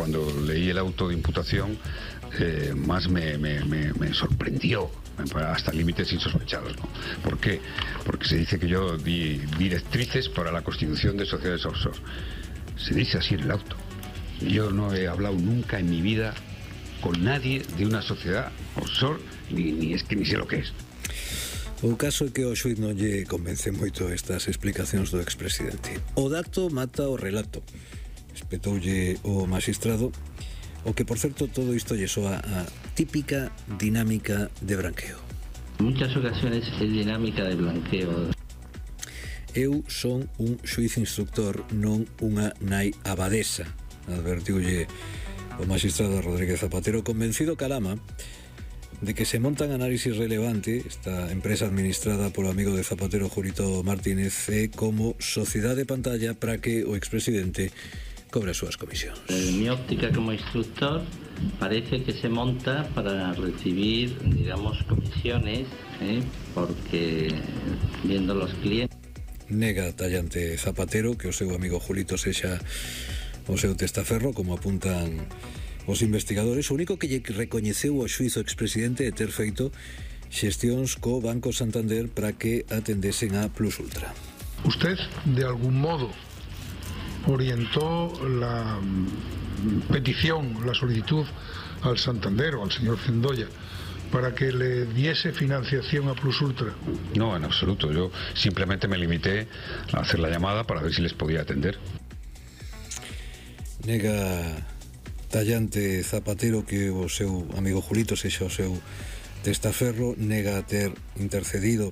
cuando leí el auto de imputación, más me sorprendió, hasta límites insospechados, ¿no? ¿Por qué? Porque se dice que yo di directrices para la constitución de sociedades offshore. Se dice así en el auto. Yo no he hablado nunca en mi vida con nadie de una sociedad offshore, ni sé lo que es. O caso é que o xuiz non lle convence moito estas explicacións do expresidente. O dato mata o relato, espetoulle o magistrado, o que, por certo, todo isto lle soa a típica dinámica de branqueo. En muchas ocasiones es dinámica de blanqueo. Eu son un xuiz instructor, non unha nai abadesa, advertiulle o magistrado Rodríguez Zapatero, convencido Calama de que se montan análisis relevante. Esta empresa administrada polo amigo de Zapatero, Julito Martínez, como sociedade de pantalla para que o expresidente cobre as súas comisións. En mi óptica como instructor parece que se monta para recibir, digamos, comisiones, porque viendo los clientes. Nega tallante Zapatero que o seu amigo Julito sexa o seu testaferro, como apuntan os investigadores. O único que lle recoñeceu o xuiz o expresidente é ter feito xestións co Banco Santander para que atendesen a Plus Ultra. Usted, de algún modo, orientó la petición, la solicitud al Santander o al señor Cendoya para que le diese financiación a Plus Ultra. No, en absoluto. Yo simplemente me limité a hacer la llamada para ver si les podía atender. Nega tallante Zapatero que o seu amigo Julito sexa o seu testaferro, nega ter intercedido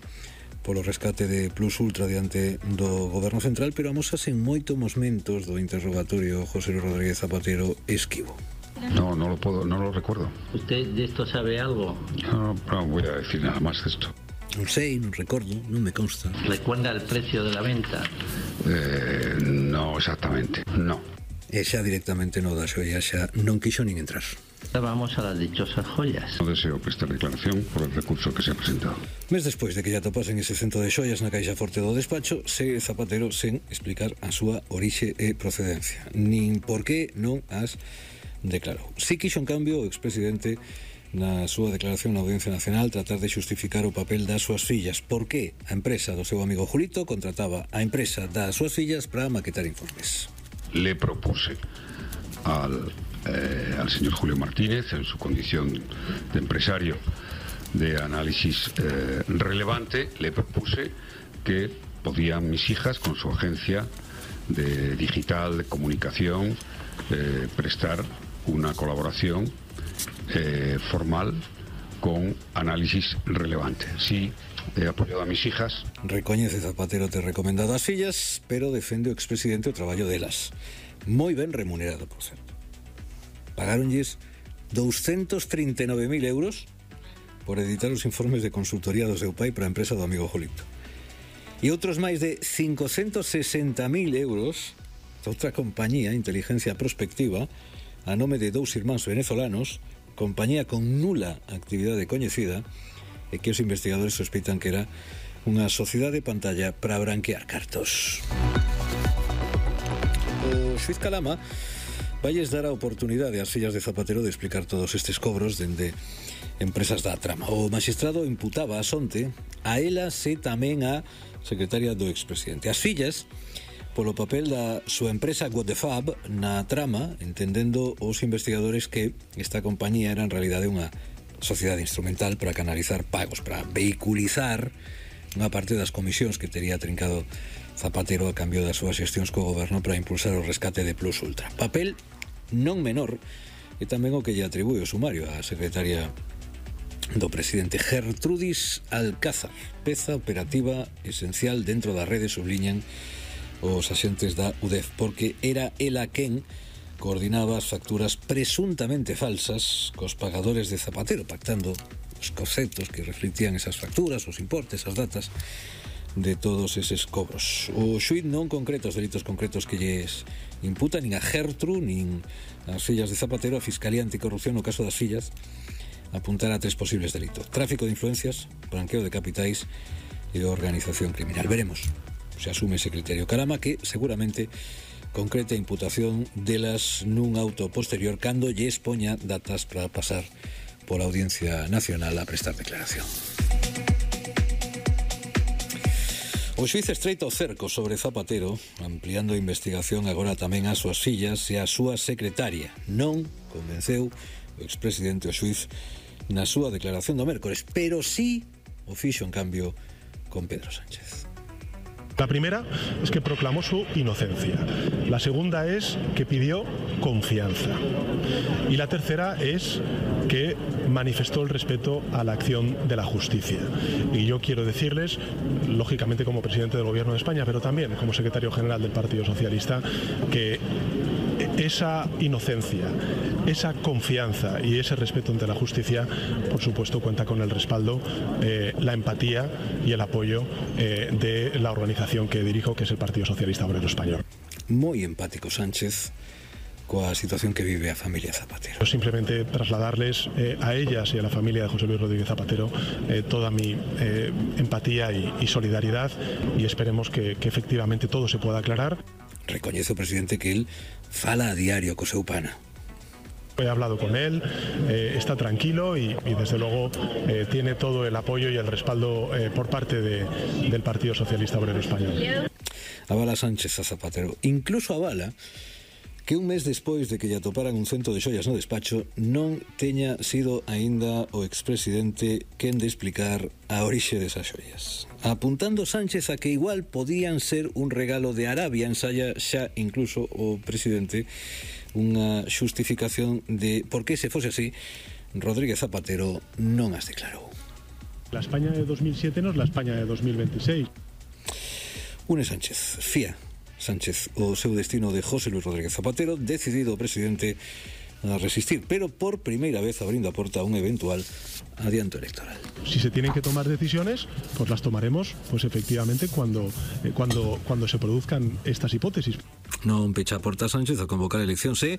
polo rescate de Plus Ultra diante do Goberno Central, pero amosase en moitos momentos do interrogatorio José Rodríguez Zapatero esquivo. No lo recuerdo. ¿Usted de esto sabe algo? No voy a decir nada más de esto. Non sei, non recordo, non me consta. ¿Recuerda el precio de la venta? No exactamente, no. E xa directamente no da xoia xa non quixo nin entrar. Vamos a las dichosas joyas. No deseo prestar declaración por el recurso que se ha presentado. Mes despois de que ya topasen ese centro de xoias na caixa forte do despacho, segue Zapatero sen explicar a súa orixe e procedencia, nin por que non as declarou. Si quixo, en cambio, o expresidente na súa declaración na Audiencia Nacional tratar de xustificar o papel das súas fillas. Por que a empresa do seu amigo Julito contrataba a empresa das súas fillas para maquetar informes. Le propuse al señor Julio Martínez, en su condición de empresario de análisis relevante, le propuse que podían mis hijas, con su agencia de digital, de comunicación, prestar una colaboración formal con análisis relevante. Sí, he apoyado a mis hijas. Recoñece Zapatero ter recomendado as fillas, pero defende o expresidente o traballo delas. Moi ben remunerado, por certo. Pagáronlles 239.000 euros por editar os informes de consultoría do seu pai para a empresa do amigo Julito. E outros máis de 560.000 euros outra compañía, Inteligencia Prospectiva, a nome de dous irmáns venezolanos, compañía con nula actividade coñecida, e que os investigadores sospeitan que era unha sociedade de pantalla para branquear cartos. O xuiz Calama valles dar a oportunidade ás fillas de Zapatero de explicar todos estes cobros dende empresas da trama. O magistrado imputaba a Sonte a elas e tamén a secretaria do expresidente. As fillas polo papel da súa empresa Godefab na trama, entendendo os investigadores que esta compañía era en realidade unha sociedade instrumental para canalizar pagos, para vehiculizar unha parte das comisións que tería trincado Zapatero a cambio das súas xestións co goberno para impulsar o rescate de Plus Ultra. Papel non menor e tamén o que lle atribúe o sumario á secretaria do presidente Gertrudis Alcázar, peza operativa esencial dentro da rede, subliñan os axentes da UDEF, porque era ela quen coordinaba as facturas presuntamente falsas cos pagadores de Zapatero, pactando os conceptos que reflectían esas facturas, os importes, as datas de todos eses cobros. O xuiz non concreta os delitos concretos que lles imputa nin a Gertrude nin as fillas de Zapatero. A Fiscalía Anticorrupción, no caso das fillas, apuntará a 3 posibles delitos: tráfico de influencias, branqueo de capitais e organización criminal. Veremos se asume ese criterio Calama, que seguramente concreta imputación delas nun auto posterior cando lles poña datas para pasar pola Audiencia Nacional a prestar declaración. O xuíz estreita o cerco sobre Zapatero, ampliando a investigación agora tamén ás súas fillas e á súa secretaria. Non convenceu o expresidente o xuíz na súa declaración do mércores, pero sí o fixo en cambio con Pedro Sánchez. La primera es que proclamó su inocencia. La segunda es que pidió confianza. Y la tercera es que manifestó el respeto a la acción de la justicia. Y yo quiero decirles, lógicamente como presidente del Gobierno de España, pero también como secretario general del Partido Socialista, que esa inocencia, esa confianza y ese respeto ante la justicia, por supuesto, cuenta con el respaldo, la empatía y el apoyo de la organización que dirijo, que es el Partido Socialista Obrero Español. Moi empático Sánchez coa situación que vive a familia Zapatero. Simplemente trasladarles a ellas y a la familia de José Luis Rodríguez Zapatero toda mi empatía y solidaridad, y esperemos que efectivamente todo se pueda aclarar. Recoñece o presidente que él fala a diario co seu pana. He hablado con él, está tranquilo y desde luego tiene todo el apoyo y el respaldo por parte del Partido Socialista Obrero Español. Avala Sánchez a Zapatero, incluso avala que un mes despois de que lle atoparan un cento de xoias no despacho non teña sido aínda o expresidente quen de explicar a orixe desas xoias. Apuntando Sánchez a que igual podían ser un regalo de Arabia, ensaya xa incluso o presidente unha xustificación de por que, se fose así, Rodríguez Zapatero non as declarou. La España de 2007 no es la España de 2026. Une Sánchez, fía Sánchez o seu destino de José Luis Rodríguez Zapatero, decidido o presidente a resistir, pero por primeira vez abrindo a porta a un eventual adianto electoral. Si se tienen que tomar decisiones, pues las tomaremos, pues efectivamente cuando se produzcan estas hipótesis. Non pecha a porta Sánchez a convocar eleccións e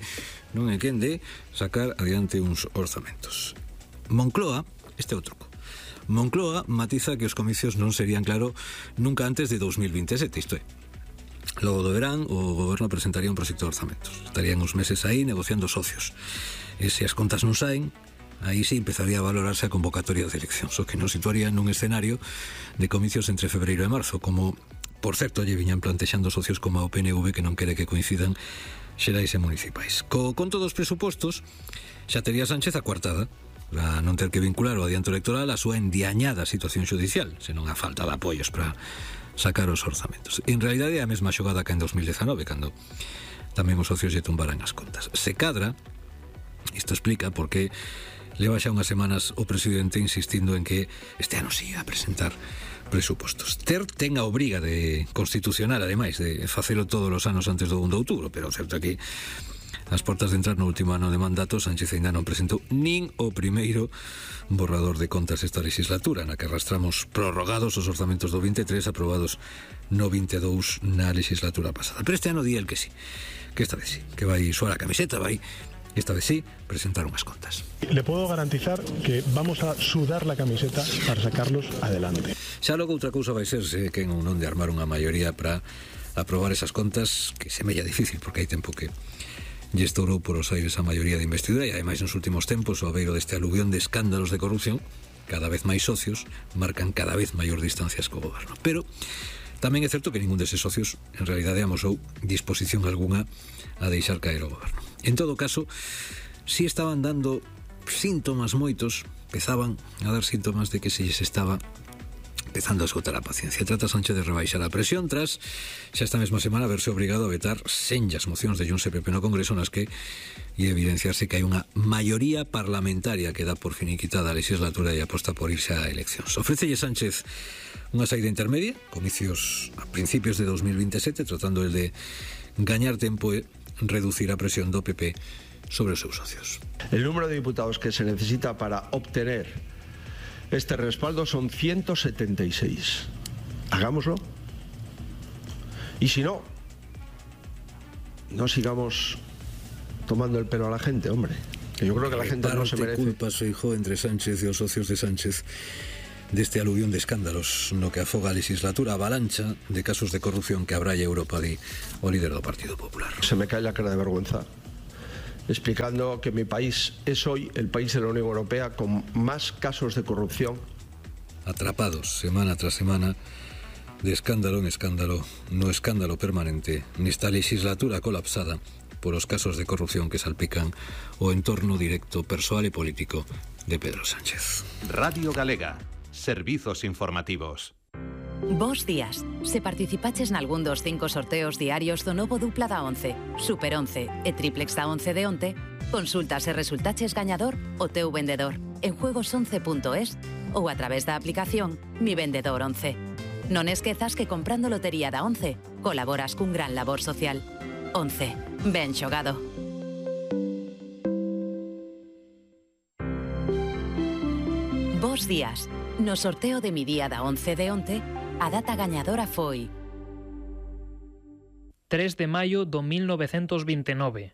non é quen de sacar adiante uns orzamentos. Moncloa, este é o truco. Moncloa matiza que os comicios non serían, claro, nunca antes de 2027, isto é. Logo do verán, o goberno presentaría un proxecto de orzamentos. Estarían uns meses aí negociando socios. E se as contas non saen, aí sí empezaría a valorarse a convocatoria de eleccións, o que nos situaría nun escenario de comicios entre febreiro e marzo, como, por certo, lle viñan plantexando socios como a PNV, que non quere que coincidan xerais e municipais. Co conto dos presupostos, xa tería Sánchez a coartada, para non ter que vincular o adianto electoral a súa endiañada situación judicial, senón a falta de apoios para sacar os orzamentos. En realidade é a mesma xogada que en 2019, cando tamén os socios lle tumbaran as contas. Se cadra, isto explica por que leva xa unhas semanas o presidente insistindo en que este ano sí a presentar presupostos. Ten a obriga de constitucional, ademais, de facelo todos os anos antes do 1 de outubro, pero o certo é que ás portas de entrar no último ano de mandato, Sánchez ainda non presentou nin o primeiro borrador de contas esta legislatura, na que arrastramos prorrogados os orzamentos do 23 aprobados no 22 na legislatura pasada. Pero este ano di el que sí, que esta vez sí, que vai suar a camiseta, vai esta vez sí presentar unhas contas. Le puedo garantizar que vamos a sudar la camiseta para sacarlos adelante. Xa logo outra cousa vai ser se quen ou non de armar unha maioría para aprobar esas contas, que semella difícil porque hai tempo que lle estourou por os aires a maioría de investidura, e ademais nos últimos tempos, ao beiro deste aluvión de escándalos de corrupción, cada vez máis socios marcan cada vez maior distancias co goberno. Pero tamén é certo que ningún deses socios en realidade amosou disposición algunha a deixar caer o goberno. En todo caso, si estaban dando síntomas moitos, empezaban a dar síntomas de que se lles estaba empezando a esgotar a paciencia. Trata Sánchez de rebaixar a presión tras xa esta mesma semana verse obrigado a vetar senllas mocións de Junts e PP no Congreso nas que ia evidenciarse que hai unha maioría parlamentaria que dá por finiquitada a legislatura e aposta por irse a eleccións. Ofrécelle Sánchez unha saída intermedia, comicios a principios de 2027, tratando el de gañar tempo e reducir a presión do PP sobre os seus socios. El número de diputados que se necesita para obtener este respaldo son 176. Hagámoslo. Y si no, no sigamos tomando el pelo a la gente, hombre. Que yo creo que la gente no se merece. Culpas, hijo, entre Sánchez e os socios de Sánchez deste aluvión de escándalos no que afoga a legislatura, avalancha de casos de corrupción que abralla Europa, di o líder do Partido Popular. Se me cae la cara de vergüenza explicando que mi país es hoy el país de la Unión Europea con más casos de corrupción. Atrapados semana tras semana de escándalo en escándalo, no escándalo permanente, nesta legislatura colapsada por os casos de corrupción que salpican o entorno directo, persoal e político de Pedro Sánchez. Radio Galega, servizos informativos. Bos días. Se participaches nalgún dos 5 sorteos diarios do novo dupla da 11, Super 11 e triplex da 11 de onte, consulta se resultaches gañador o teu vendedor en juegos11.es ou a través da aplicación Mi Vendedor 11. Non esquezas que comprando lotería da 11 colaboras cun gran labor social. 11. Ben xogado. Bos días. No sorteo de Mi Día da 11 de onte, a data gañadora foi 3 de maio do 1929.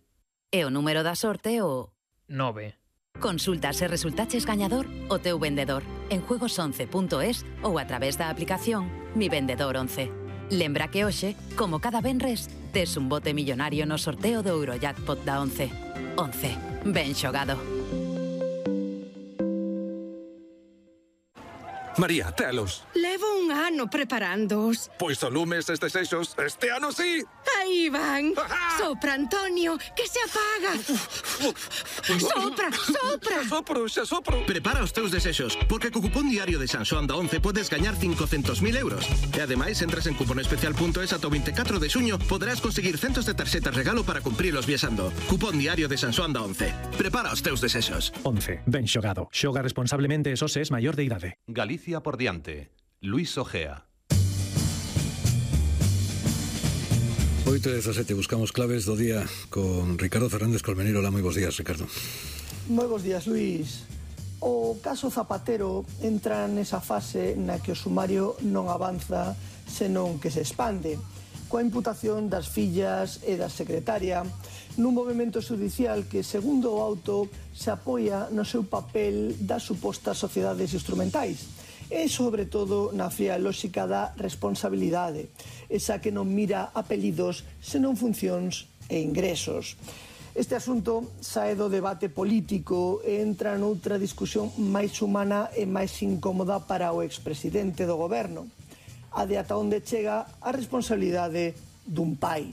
E o número da sorte o 9. Consulta se resultaches gañador o teu vendedor en juegos11.es ou a través da aplicación Mi Vendedor 11. Lembra que hoxe, como cada venres, tes un bote millonario no sorteo do Eurojackpot da 11. 11. Ben xogado. María, telos. Levo un ano preparándoos. Pois o lumes estes eixos, este ano sí. Aí van. Sopra, Antonio, que se apaga. Sopra, sopra. Xa sopro. Prepara os teus desexos, porque co cupón diario de San Xoán da 11 podes gañar 500.000 euros. E ademais, entras en cuponespecial.es ata o 24 de xuño, poderás conseguir centos de tarxetas regalo para cumprilos viaxando. Cupón diario de San Xoán da 11. Prepara os teus desexos. 11. Ben xogado. Xoga responsablemente e só se es maior de idade. Galicia por diante. Luis Ojea. 8:17, buscamos claves do día con Ricardo Fernández Colmenero. Hola, moi bons días, Ricardo. Moi bons días, Luis. O caso Zapatero entra nesa fase na que o sumario non avanza, senón que se expande, coa imputación das fillas e da secretaria, nun movimento judicial que, segundo o auto, se apoia no seu papel das supostas sociedades instrumentais e, sobre todo, na fría lóxica da responsabilidade, esa que non mira apelidos senón funcións e ingresos. Este asunto sae do debate político e entra noutra discusión máis humana e máis incómoda para o expresidente do goberno, a de ata onde chega a responsabilidade dun pai.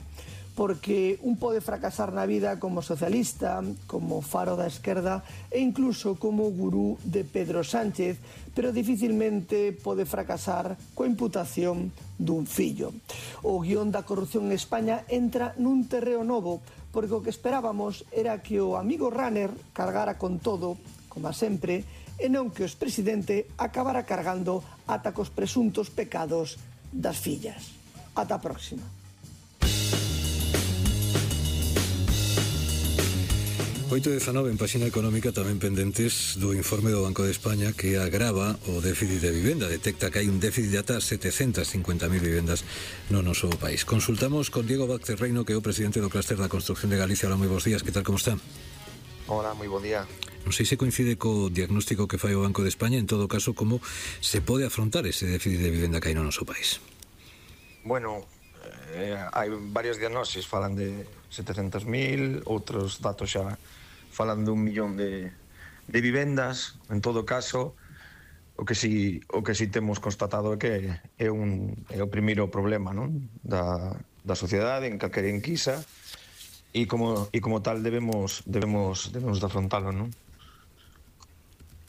Porque un pode fracasar na vida como socialista, como faro da esquerda e incluso como gurú de Pedro Sánchez, pero dificilmente pode fracasar coa imputación dun fillo. O guión da corrupción en España entra nun terreo novo, porque o que esperábamos era que o amigo runner cargara con todo, como sempre, e non que o expresidente acabara cargando ata cos presuntos pecados das fillas. Ata a próxima. 8:19 en páxina económica, tamén pendentes do informe do Banco de España que agrava o déficit de vivenda, detecta que hai un déficit de ata 750.000 vivendas no noso país. Consultamos con Diego Vázquez Reino, que é o presidente do Clúster da Construcción de Galicia. Hola, moi bons días, que tal, como está? Hola, moi bo día. Non sei se coincide co diagnóstico que fai o Banco de España, en todo caso, como se pode afrontar ese déficit de vivenda que hai no noso país? Bueno, hai varios diagnósticos, falan de 700.000, outros datos xa falan de 1 millón de vivendas. En todo caso, o que si temos constatado é que é o primeiro problema, non? da sociedade en calquera enquisa, e como tal debemos de afrontalo, non?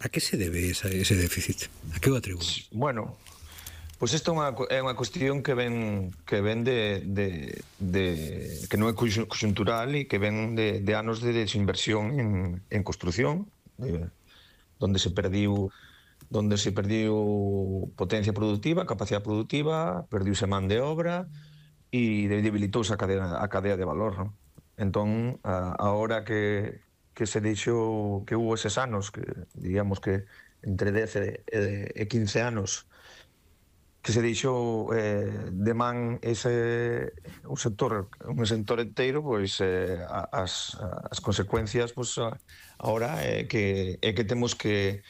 A que se debe ese déficit? A que o atribúen? Bueno, pois isto é unha cuestión que ven de que non é conxuntural e que ven de anos de desinversión en construción, donde se perdiu potencia productiva, capacidade productiva, perdiuse man de obra e debilitouse a cadea de valor, non? Entón, agora que se deixou, que hubo eses anos, que digamos que entre 10 e 15 anos, que se deixou de man un sector enteiro, pois as consecuencias, pois agora é que temos que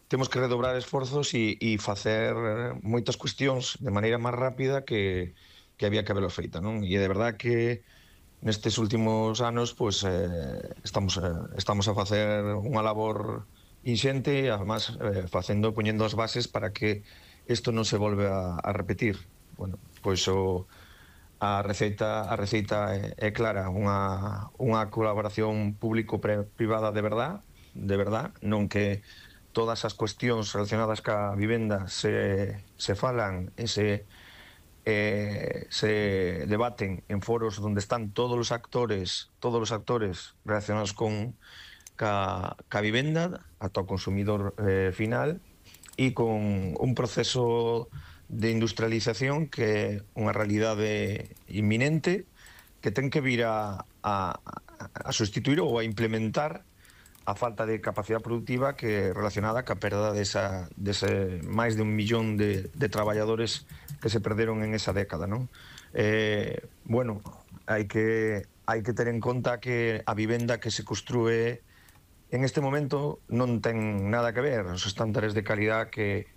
temos que redobrar esforzos e facer moitas cuestións de maneira máis rápida que había que haberlo feita, non? E de verdad que nestes últimos anos pois, estamos a facer unha labor inxente, además poñendo as bases para que isto non se volve a repetir. Bueno, pois a receita é clara, unha colaboración público-privada de verdad, non que todas as cuestións relacionadas ca vivenda se falan e se debaten en foros onde están todos os actores relacionados ca vivenda ata o consumidor final, e con un proceso de industrialización que é unha realidade inminente que ten que vir a sustituir ou a implementar a falta de capacidade productiva que é relacionada ca perda dese máis de 1 millón de traballadores que se perderon en esa década, non? Bueno, hai que ter en conta que a vivenda que se construe en este momento non ten nada que ver os estándares de calidad que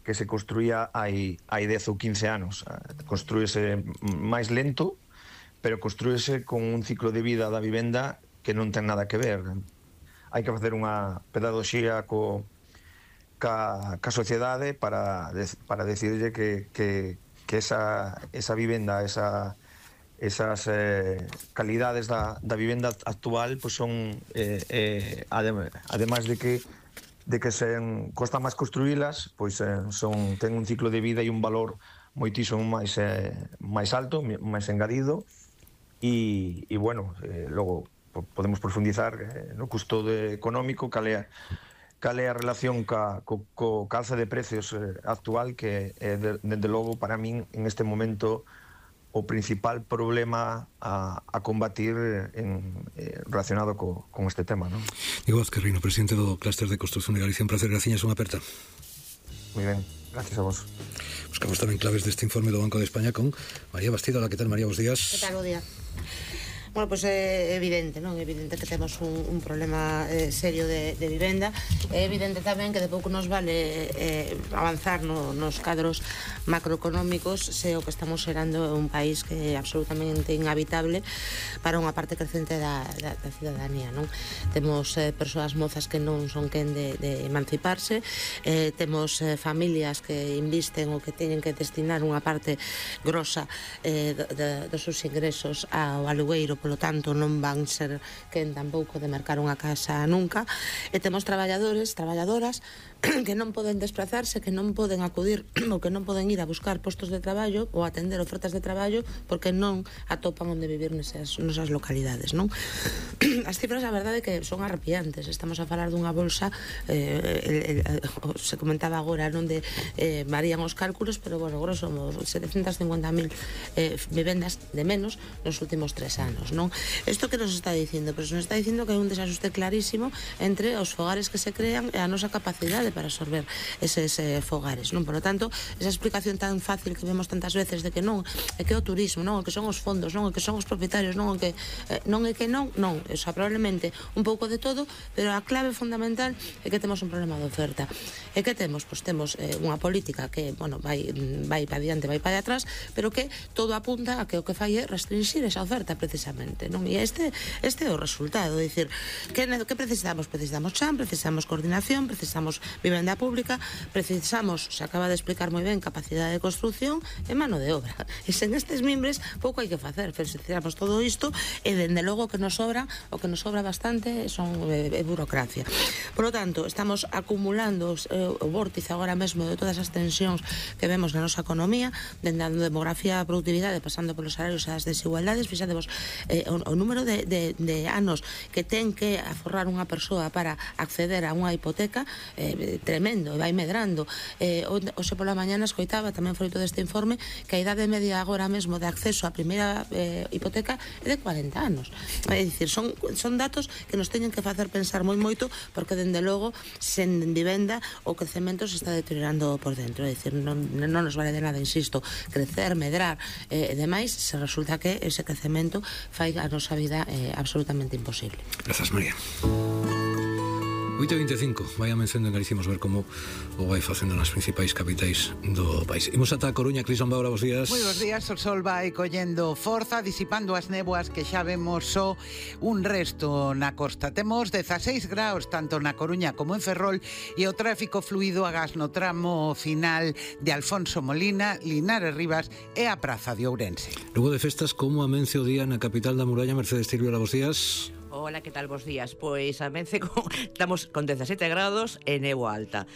se construía hai 10 ou 15 anos. Construíse máis lento, pero construíse con un ciclo de vida da vivenda que non ten nada que ver. Hai que facer unha pedagogía ca sociedade para decirlle que esa vivenda, esas calidades da vivenda actual pues son, además de que costa máis construílas, pois ten un ciclo de vida e un valor moitísimo máis alto, máis engadido, e bueno, logo podemos profundizar no custo económico, cal é a relación co calce de precios actual, que é, dende logo, para min, en este momento, o principal problema a combatir relacionado con este tema, non? Diego Azquerrino, presidente do Clúster de Construción de Galicia, un placer, graciñas, unha aperta. Moi ben, gracias a vos. Buscamos tamén claves deste informe do Banco de España con María Bastido. Hola, que tal, María? Bos días. Que tal, bo día? Bueno, pois é evidente, non? É evidente que temos un problema serio de vivenda. É evidente tamén que de pouco nos vale avanzar nos cadros macroeconómicos se o que estamos xerando é un país que é absolutamente inhabitable para unha parte crecente da cidadanía, non? Temos persoas mozas que non son quen de emanciparse, temos familias que invisten ou que teñen que destinar unha parte grosa dos seus ingresos ao alugueiro, polo tanto non van ser quen tampouco de mercar unha casa nunca, e temos traballadoras que non poden desplazarse, que non poden acudir ou que non poden ir a buscar postos de traballo ou atender ofertas de traballo porque non atopan onde vivir nesas localidades, non? As cifras, a verdade, que son arrepiantes. Estamos a falar dunha bolsa, se comentaba agora, non de varían os cálculos, pero, bueno, grosso modo, 750.000 vivendas de menos nos últimos 3 anos, non? Isto que nos está dicindo? Pois nos está dicindo que hai un desaxuste clarísimo entre os fogares que se crean e a nosa capacidade para absorber eses fogares, non? Por lo tanto, esa explicación tan fácil que vemos tantas veces de que non, é que o turismo, non, o que son os fondos, non, o que son os propietarios, non, o que non é que non, o sea, probablemente un pouco de todo, pero a clave fundamental é que temos un problema de oferta. E que temos? Pois temos unha política que, bueno, vai para diante, vai para atrás, pero que todo apunta a que o que fai é restringir esa oferta precisamente, non? E este é o resultado, é dicir, que precisamos? Precisamos chan, precisamos coordinación, precisamos vivenda pública, precisamos, se acaba de explicar moi ben, capacidade de construción e mano de obra. E sen estes mimbres pouco hai que facer, precisamos todo isto, e dende logo que nos sobra, o que nos sobra bastante son burocracia. Por lo tanto, estamos acumulando o vórtice agora mesmo de todas as tensións que vemos na nosa economía, dende a demografía, a productividade, pasando polos salarios e as desigualdades. Fixadevos o número de anos que ten que aforrar unha persoa para acceder a unha hipoteca, tremendo, vai medrando. Hoxe pola mañana escoitaba, tamén froito deste informe, que a idade media agora mesmo de acceso á primeira hipoteca é de 40 anos. É dicir, son datos que nos teñen que facer pensar moi moito, porque dende logo, sen vivenda, o crecemento se está deteriorando por dentro. É dicir, non nos vale de nada, insisto, crecer, medrar e demais, se resulta que ese crecemento fai a nosa vida absolutamente imposible. Grazas, María. 8:25, vai a mención en Galicia, ver como o vai facendo nas principais capitais do país. Imos ata a Coruña. Cris Lombaura, bos días. Moi bos días, o sol vai collendo forza, disipando as néboas que xa vemos só un resto na costa. Temos 16 graus tanto na Coruña como en Ferrol e o tráfico fluido agás no tramo final de Alfonso Molina, Linares Rivas e a Praza de Ourense. Luego de festas, como amense o día na capital da Muralla? Mercedes Tirviola, bos días. Hola, que tal, bos días? Pois estamos con 17 grados e néboa alta.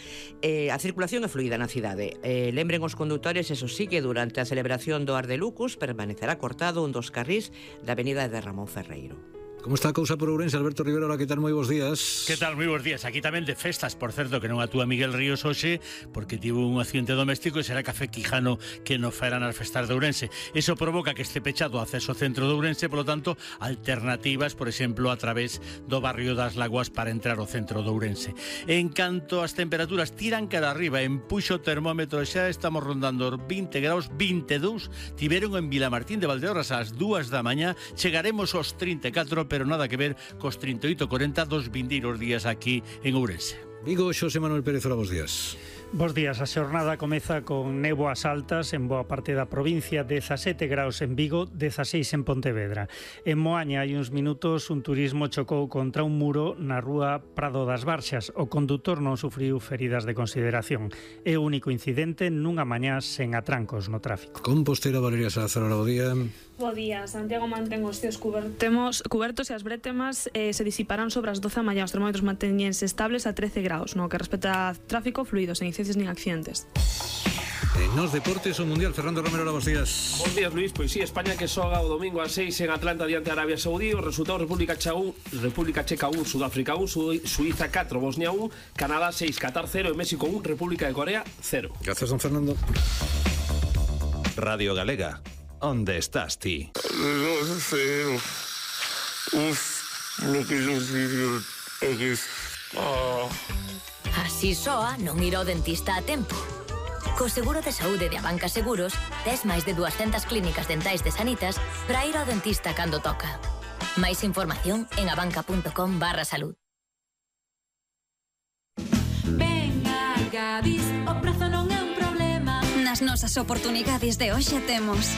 A circulación é fluida na cidade. Lembren os condutores, eso sí, que durante a celebración do Ar de Lucus permanecerá cortado un dos carrís da avenida de Ramón Ferreiro. Como está a cousa por Ourense? Alberto Rivera, hola, que tal? Moi bons días. Que tal? Moi bons días. Aquí tamén de festas, por certo, que non atúa Miguel Ríos hoxe, porque tivo un accidente doméstico e será Café Quijano que non faerá nas festas de Ourense. Eso provoca que este pechado o acceso ao centro de Ourense, polo tanto, alternativas, por exemplo, a través do barrio das Lagoas para entrar ao centro de Ourense. En canto as temperaturas tiran cara arriba, empuxo o termómetro, xa estamos rondando 20 graus, 22, tiveron en Vilamartín de Valdeorras ás 2 da mañá, chegaremos aos 34, pero nada que ver cos 38-40 dos vindeiros días aquí en Ourense. Vigo, Xosé Manuel Pérez, hola, bos días. Bos días, a xornada comeza con néboas altas en boa parte da provincia, 17 graus en Vigo, 16 en Pontevedra. En Moaña hai uns minutos un turismo chocou contra un muro na rúa Prado das Barxas. O condutor non sufriu feridas de consideración. É o único incidente nunha mañá sen atrancos no tráfico. Compostela, Valeria Salazar, hola, bo día. Bo día, Santiago mantén os cíos cubertos e as brétemas se disiparán sobre as 12 da mañá. Os termómetros manteñense estables a 13 graus, no que respecta a tráfico fluido, sen incidencias nin accidentes. Nos deportes, o Mundial, Fernando Romero, hola, bos días. Bos días, Luis. Pois sí, España que xoga o domingo a 6 en Atlanta diante de Arabia Saudí. O resultado: República Checa 1, Sudáfrica 1, Suiza 4, Bosnia 1, Canadá 6, Qatar 0 e México 1, República de Corea 0. Gracias, don Fernando. Radio Galega, onde estás ti? Non sei. Lo que eu digo é que... Así soa non ir ao dentista a tempo. Co seguro de saúde de Abanca Seguros, tes máis de 200 clínicas dentais de Sanitas para ir ao dentista cando toca. Máis información en abanca.com/salud. Venga, Gadis, o prezo non é un problema. Nas nosas oportunidades de hoxe temos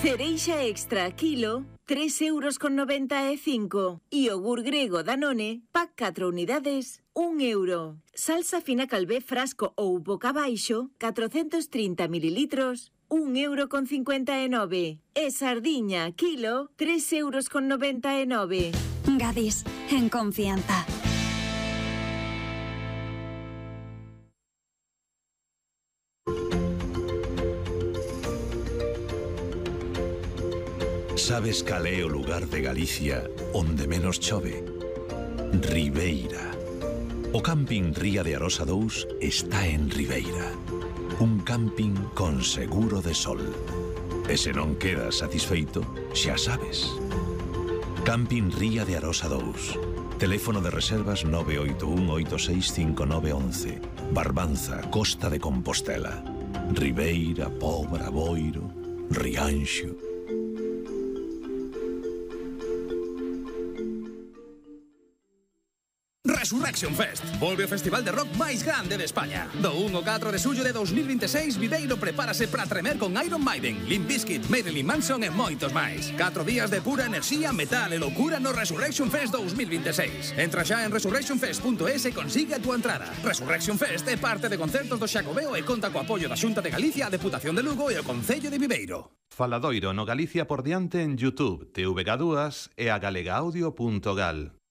cereixa extra kilo, 3,95 €. Iogur grego Danone, pack 4 unidades, 1 €. Salsa fina calvé frasco ou boca baixo, 430 mililitros, 1,59 €. E sardiña kilo, 3,99 €. Gadis, en confianza. Sabes cal é o lugar de Galicia onde menos chove? Ribeira. O camping Ría de Arosa 2 está en Ribeira. Un camping con seguro de sol. E se non quedas satisfeito, xa sabes. Camping Ría de Arosa 2. Teléfono de reservas 981865911. Barbanza, Costa de Compostela. Ribeira, Pobra, Boiro, Rianxo. Resurrection Fest. Volve o festival de rock máis grande de España. Do 1 ao 4 de xullo de 2026, Viveiro prepárase para tremer con Iron Maiden, Limp Bizkit, Marilyn Manson e moitos máis. 4 días de pura enerxía, metal e loucura no Resurrection Fest 2026. Entra xa en resurrectionfest.es e consigue a túa entrada. Resurrection Fest é parte de concertos do Xacobeo e conta co apoio da Xunta de Galicia, a Deputación de Lugo e o Concello de Viveiro. Faladoiro no Galicia por diante en YouTube, TVG2 e a galegaaudio.gal.